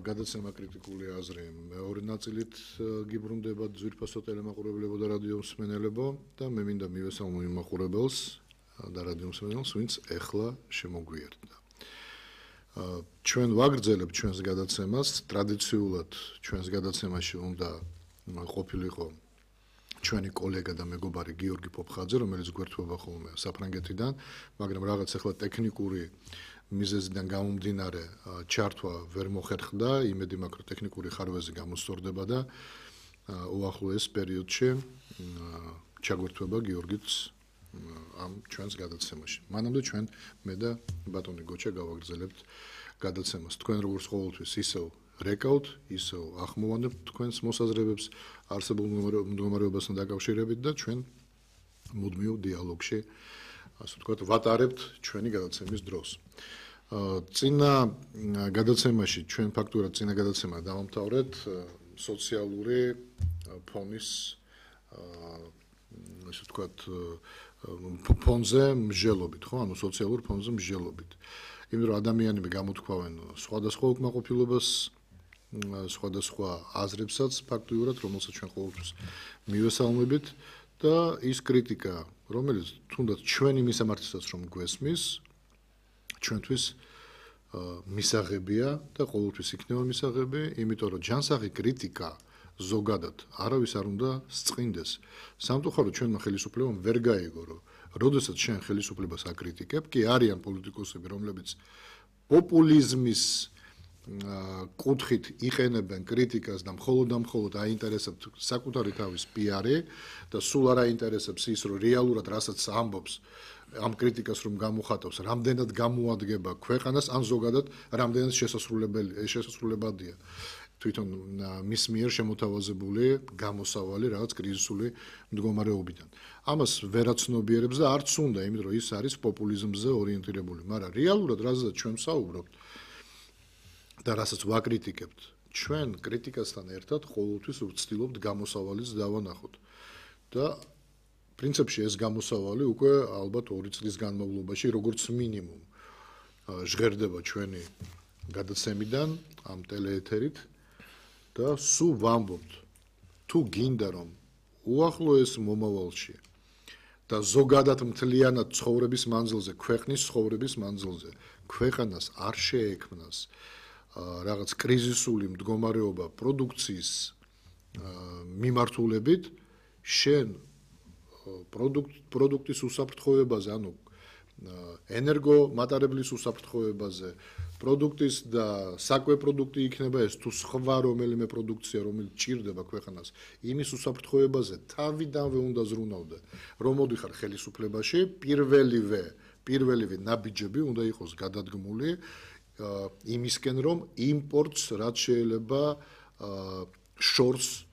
გადაცემა კრიტიკული აზრი მეორე ნაწილით გიბრუნდება ძვირფასო ტელემაყურებლებო და რადიო მსმენელებო და მე მინდა მივესალმო იმ მაყურებელს და რადიო მსმენელს, ვინც ეხლა შემოგვიერთდა. ჩვენ ვაგრძელებთ ჩვენს გადაცემას, ტრადიციულად ჩვენს გადაცემაში უნდა ყოფილიყო ჩვენი კოლეგა და მეგობარი გიორგი პოპხაძე, რომელიც გვერდება ხოლმე საფრანგეთიდან, მაგრამ რაღაც ახლა ტექნიკური მიზეზიდან გამომდინარე ჩართვა ვერ მოხერხდა, იმედი მაქვს, რომ ტექნიკური ხარვეზი გამოსწორდება და უახლოეს პერიოდში ჩაგვერთვება გიორგიც ამ ჩვენს გადაცემაში. მანამდე ჩვენ მე და ბატონი გოჩა გავაგრძელებთ გადაცემას. თქვენ როგორც ყოველთვის ისევ რეკავთ, ისევ ახმოვანებთ თქვენს მოსაზრებებს არსებულ მდგომარეობასთან დაკავშირებით და ჩვენ მუდმივ დიალოგში, ასე ვთქვათ, ვატარებთ ჩვენი გადაცემის დროს. წინა გადაცემაში ჩვენ ფაქტურად წინა გადაცემა დავამთავრეთ სოციალური ფონის ასე ვთქვათ ფონზე მსჯელობით, ხო, ანუ სოციალურ ფონზე მსჯელობით. იმიტომ რომ ადამიანები გამოთქვავენ სხვადასხვა უკმაყოფილებას, სხვადასხვა აზრებსაც ფაქტიურად, რომელსაც ჩვენ ყოველთვის მივესალმებით და ის კრიტიკა, რომელიც თუნდაც ჩვენი მისამართისაც რომ გვესმის, ჩვენთვის მისაღებია და ყოველთვის იქნება მისაღები, იმიტომ რომ ჯანსაღი კრიტიკა ზოგადად არავის არ უნდა სწყინდეს. სამწუხაროდ ჩვენმა ხელისუფლებამ ვერ გაიგო, რომ როდესაც შენ ხელისუფლებას აკრიტიკებ, კი არიან პოლიტიკოსები, რომლებიც პოპულიზმის კუთხით იყენებენ კრიტიკას და მხოლოდ აინტერესებთ საკუთარი თავის პიარი და სულ არ აინტერესებს ის, რომ რეალურად რასაც ამბობს ამ კრიტიკას რომ გამოხატავს, რამდენად გამოადგება ქვეყანას, ან ზოგადად რამდენად შესასრულებადია თვითონ მის მიერ შემოთავაზებული გამოსავალი რაღაც კრიზისული მდგომარეობიდან. ამას ვერაცნობიერებს და არც უნდა, იმიტომ რომ ის არის პოპულიზმზე ორიენტირებული, მაგრამ რეალურად რაზეც ჩვენ ვსაუბრობთ და რასაც ვაკრიტიკებთ, ჩვენ კრიტიკასთან ერთად ყოველთვის ვცდილობთ გამოსავალიც დავანახოთ. და პრინციპში ეს გამოსავალი უკვე ალბათ 2 წლის განმავლობაში როგორც მინიმუმ ჟღერდება ჩვენი გადაცემიდან ამ ტელეეთერით და სულ ვამბობთ, თუ გინდა რომ უახლოეს მომავალში და ზოგადად მთლიანად ცხოვრების მანძილზე, ქვეყნის ცხოვრების მანძილზე, ქვეყანას არ შეექმნას რაღაც კრიზისული მდგომარეობა პროდუქციის მიმართულებით, შენ პროდუქტის უსაფრთხოებაზე, ანუ ენერგომატარებლის უსაფრთხოებაზე, პროდუქტის და საკვე პროდუქტი იქნება ეს თუ სხვა რომელიმე პროდუქცია, რომელიც ჭირდება ქვეყანას, იმის უსაფრთხოებაზე თავიდანვე უნდა ზრუნავდე, რომ მოდიხარ ხელისუფლებაში, პირველივე ნაბიჯები უნდა იყოს გადადგმული იმისკენ, რომ იმპორტს რაც შეიძლება შორს